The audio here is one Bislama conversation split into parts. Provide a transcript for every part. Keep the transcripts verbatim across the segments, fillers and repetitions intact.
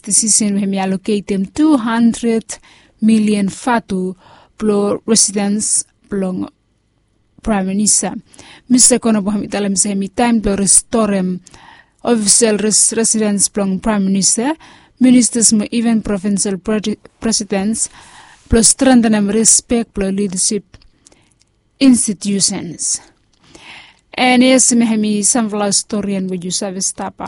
disisen we hem i aloketem tu handred milian vatu blong residens blong Praem Minista. Mista Konobo hem i talem se hem i taem blong restorem ofisel residens blong Praem Minista, ministas mo iven provinsel presidens blong strentenem rispek blong lidasip institusens. And yes, mi hem i samfala storian we yu save stap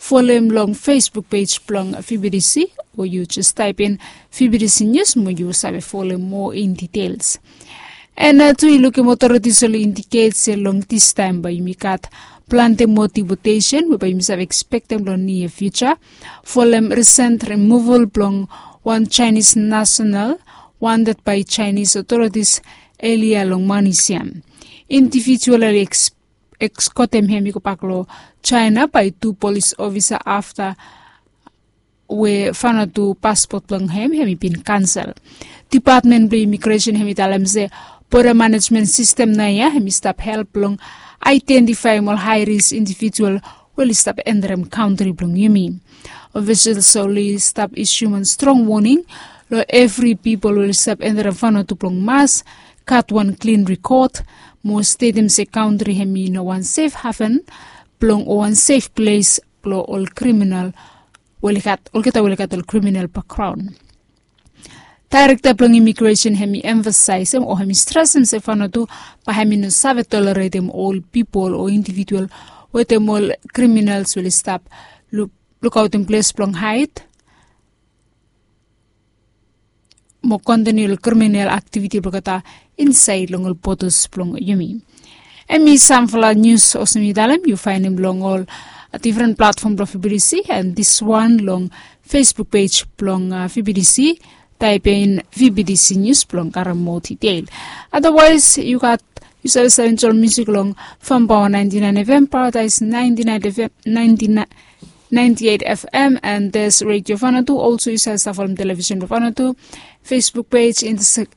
folem long Facebook pej blong V B D C, o yu jes taepin V B D C News mo yu save folem moa in details. And tu i lukim otoritis oli indiket se long distaem bae yumi gat plante moa dipotesen we bae yumi save ekspektem long nia fiuja folem risent rimuval blong wan Chinese nasenal wanted bae Chinese otoritis elia long manis ya. Indivijual oli ekskotem hem i gobak long Jaena bae tu polis ofisa afta we faona tu paspot blong hem hem i bin kansel. Dipatmen blong imigresen hem i talem se boda manejmen sistem naoia hem i stap help blong aedentifaem ol hae ris indivijual we oli stap enterem kantri blong yumi. Ofisels oli stap isium wan strong woning long evri pipol we oli stap enterem faona tu blong mas gat wan klin rekod mo stetem se kantri hem i no wan sef haven blong o wan sef ples blong ol kriminal we oli gat olgeta we oli gat ol kriminal bakgraon. Daerekta blong imigresen hem i emfasaesem o hem i stresem se faona tu bae hem i no save toleretem ol pipol o indivijual wetem ol kriminals we oli stap lukaotem ples blong haed mo kontiniu long kriminal aktiviti blong olgeta insaed long ol bodas blong yumi. Hem i samfala nius olsem mi talem yu faenem long ol difren platfom blong V B D C and diswan long Facebook pej blong V B D C. Taepin V B D C News blong karem moa detail. Adawaes yu gat yu save save enjoe musik long Fam Paoa naenti naen F M, Paradise naenti naen F M, naenti naen naenti eit F M and there's Radio Vanuatu. Also yu save stap folem televisen blong Vanuatu, Facebook pej,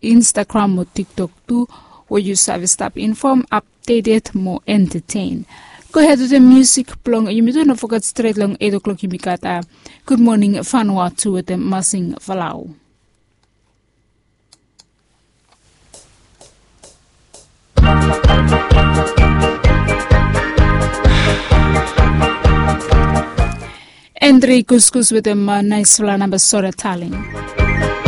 Instagram o TikTok tu we yu save stap infom, apdeted mo entetein. Gohed wetem musik blong yumi tu, no foget stret long eit o'klok yumi gat a Good Morning Vanuatu wetem Masing Falau. Andre Kuskus wetem naesfala namba Sore Talin.